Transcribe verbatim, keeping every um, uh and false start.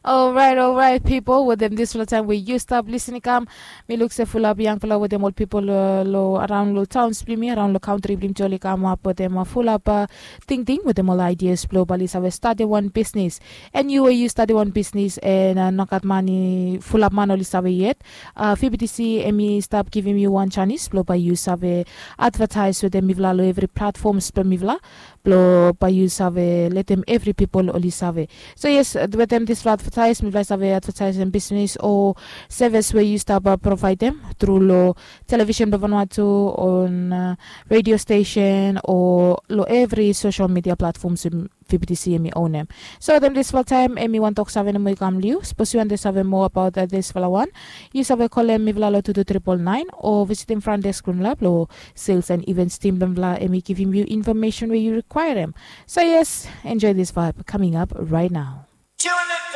Orait, orait, pipol, wetem dispela taim we yu stap lisin i kam, mi luk se fulap yangpela wetem ol pipol long araun long taun bilong mi, araun long kantri bilong mi, oli kamap wetem fulap tingting wetem ol aidias bilong bai oli save statim wan bisnis. And yu we yu statim wan bisnis and nogat mani fulap man oli save yet, fibitisi em i stap givim yu wan janis bilong bai yu save advatais wetem mipela long evri platfoms bilong mipela, bilong bai yu save letem evri pipol oli save. So yes, wetem dispela advatais mipela i save advataisim bisnis o sevis we yu stap provaidim tru long televishen bilong Vanuatu, on redio stesen, o long evri sosel midia platfoms we fibitisi em i onem. So wetem dispela taim em i wan tok save nomo i kam long yu. Sapos yu wantaim save moa abaut dispela wan, yu save kolem mipela long tu tu tripol nain o visitim fran desk bilong mipela long sales and events tim bilong mipela, em i givim yu infomesen we yu rikwaerim. So yes, enjoy this vibe coming up right now.